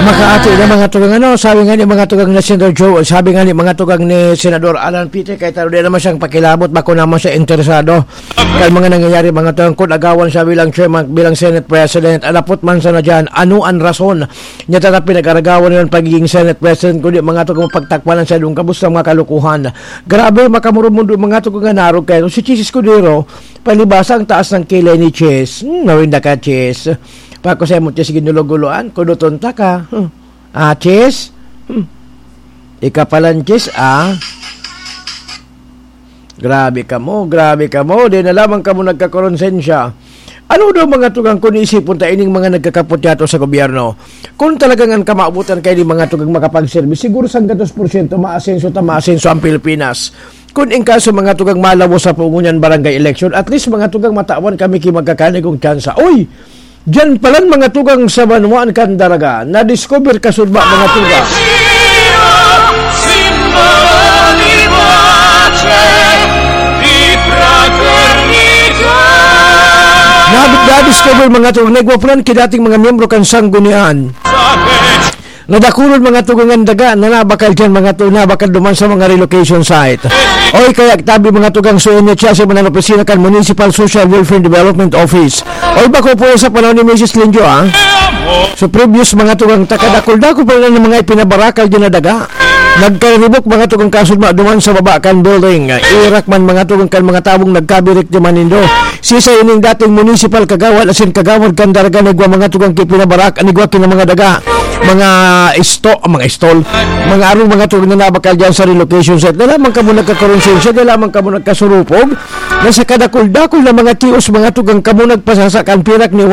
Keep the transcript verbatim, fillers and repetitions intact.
Makaati na mga tugang ano, sabi nga ni mga tugang ni Senator Joe, sabi nga ni mga tugang ni Senador Alan Peter Cayetano, di naman siyang pakilabot, bako naman siya interesado. Kan mga nangyayari mga tugang, kung agawan siya bilang chairman, bilang Senate President, alapot man sana dyan, ano ang rason niya tata pinag-aragawan niya ang pagiging Senate President, kundi mga tugang mapagtakpan ang sadong kabustang mga kalukuhan. Grabe, makamurumundo mga tugang nga narog kayo. Si Chis Escudero, palibasa ang taas ng kilay ni Chis. Hmm, nawinda ka, Chis. Pagkusay mo, Chis, ginulo-guloan, kuduton ta ka. Hmm. Ah, Chis? Hmm. Ika palan, Chis, ah. Grabe kamo, grabe kamo. Di na lamang kamo nagkakuronsensya. Ano daw mga tugang kun isipon ta ining mga nagkakaputyato sa gobyerno? Kung talagang ang kamabutan kay di mga tugang makapagserbi, siguro sanggatos porsyento maasenso ta maasenso ang Pilipinas. Kung in kaso mga tugang malawos sa pungunyan barangay election, at least mga tugang matawan kami ki magkakanigong tsansa. Uy! Diyan palan mga tugang sa banwaan kan Daraga, na-discover kasudma mga tugang. Nabit na-discover mga tugang, nagwapulan ki dating mga miyembro kan sanggunian. Nadakulon mga tugang ang daga na nabakal dyan mga tugang, nabakal duman sa mga relocation site. Oy, kaya tabi mga tugang suyan niya siya sa mga opisina kan Municipal Social Welfare Development Office. Oy, bako po sa panahon ni Misis Linjo, ah. So, previous mga tugang takadakol-dakol pa lang ng mga ipinabarakal dyan na daga. Nagkaribok mga tugang kasudma duman sa baba kan building. Irak man mga tugang kan mga tabong nagkabirik di manindo. Sisa ining dating municipal kagawad asin kagawad kan Daraga nagwa mga tugang ki pinabarak, anigwa ki na mga daga, mga isto, mga istol, mga arong mga tugang na nabakal dyan sa relocation site. Dala man kamo nagkakuronsensya, dala man kamo nagkasurupog, na sa kadakol-dakol na mga tios, mga tugang kamo nagpasasa kan pirak ni